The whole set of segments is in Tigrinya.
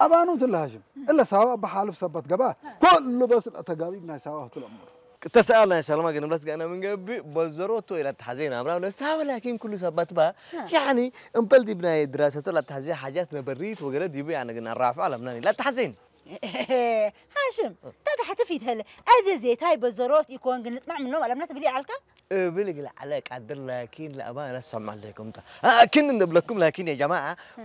ኣባኑ ትለ ሃሽም እለ ሳዋ በሓልፍ ሰበት ገባ ኩሉ በስ ተጋቢብ ናይ ሳዋ ትለምሩ። ተሰኣል ናይ ሰልማ ግን ብለስ ጋና ምን ገቢ በዘሮቶ ኢላ ተሓዘይና ኣምራ ብለ ሳዋ ላኪን ኩሉ ሰበት ባ ያኒ እምበል ዲብ ናይ ድራሰቶ ላ ተሓዘይ ሓጃት ነበሪት ወገለ ዲቡ ያነ ግን ኣራፍዑ ኣለምናን ኢላ ተሓዘይን። ሃሽም ተታሕቲ ፊት ህለ ኣዘ ዜታይ በዘሮት ይኮን ግን ንጥማዕ ምኖም ኣለምና ትብል ይዓልካ። እብል ግል ዓለ ቃድር ላኪን ለአባ ነሰማ ለኩም ታ ላኪን እንደብለኩም ላኪን ያ ጀማዓ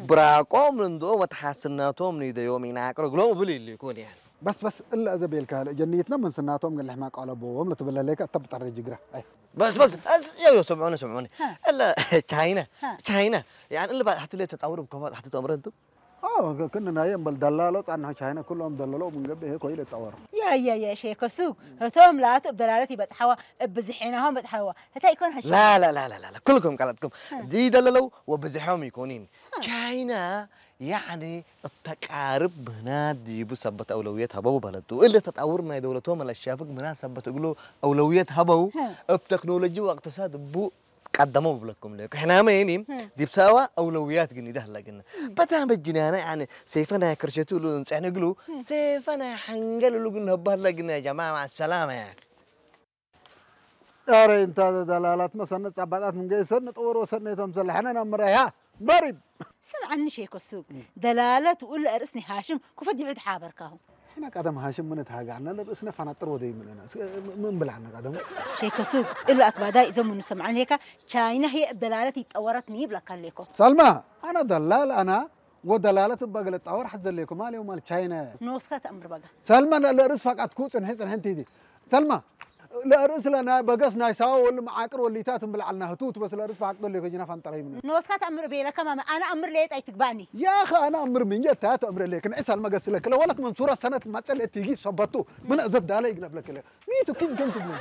ብራቆም እንዶ ወተሓስናቶም ንደዮም ኢና ቅርግሎም እብል ይልኩን ያ በስ በስ እላ እዘ ቤልካ ለ ጀንየትና መንስናቶም ግን ልሕማ ቀለቦዎም ለትብለ ለይካ እተ ብጠረ ጅግራ ኣይ በስ በስ ያው ያው ስምዑኒ ስምዑኒ እለ ቻይና ቻይና يعني اللي بعد حتى ليه تطور بكفاءة حتى تطور انتم ክንናየ እምበል ደላሎ ጻንሖ ቻይና ኩሎም ደለሎ ምንገብ ይሄ ኮይለ ጸወር ያያያ ሼከ ሱቅ እቶም ላቱ እብ ደላለት ይበጽሓዋ እብ ብዝሒናሆም በጽሓዋ እታ ይኮን ሀሽ لا لا لا لا لا كلكم قالتكم دي دللوا وبزحهم يكونين ቻይና ያዕኒ እብተቃርብ ምህናት ድይቡ ሰበት አውለውየት ሀበው በለቱ እለ ተጣውር ናይ ደውለቶም አለሻፍግ ምህናት ሰበት እግሎ አውለውየት ሀበው እብ ተክኖሎጂ ወእቅትሳድ እቡ ቀደሞ ብለኩም ለ ሕናመ የኒ ዲብ ሳዋ አውለውያት ግን ይደህለ ግን በጣም በጅናና ያኒ ሴፈ ናይ ክርሸቱ ሉ እንጸሕን እግሉ ሴፈ ናይ ሐንገል ሉ ግን ነባህለ ግን ያ ጀማ ማሰላማ ያ ኧረ እንታ ደላላት መሰነ ጻባጣት ምን ገይሰን ንጠወር ወሰነ ተምሰለ ሐነ ናምራ ያ በሪብ ስምዓኒ ሼኮ ሱቅ ደላለት ውል እርስ ኒ ሃሽም ኩፈት ዲብዒ ተሓበርካሁ ሕና ቀደም ሃሽም ምን ተሃጋዕና ለርእስነ ፋናጥር ወደይ ምንና ምን ብላዕና ቀደም ሼኮ ሱቅ እሉ ኣክባዳይ እዞም ምን ሰምዓኒ ሄካ ቻይና ህየ ደላለት ይጠወረት ኒ ይብለካ ሌኮ ሰልማ ኣና ደላል ኣና ወደላለት እባ ገለ ጣወር ሐዘ ሌኮ ማል ማል ቻይና ኖስካ ተእምር በጋ ሰልማ ለርእስ ፋቃት ኩ ጽንሒ ጽንሒ እንቲዲ ሰልማ ለርእስ ለና በገስ ናይ ሳዋ ወል መዓቅር ወሊታት እምብል ዓልና ህቱት በስ ለርእስ ፈሓቅ ደሎ ከጅና ፋንጠረይ ምን ንወስካ ተእምር ቤለካ ማመ ኣነ ኣምር ለየት ኣይትግባእኒ ያኸ ኣነ ኣምር ምንጀ ታ ተእምር ለክ ንዕሳል መገስ ለክለ ወለት መንሱራ ሰነት ማጸለ ትጊ ሰበቱ ምን እዘብ ዳለ ይግነብ ለክለ ሚቱ ኪም ኪም ትብሉ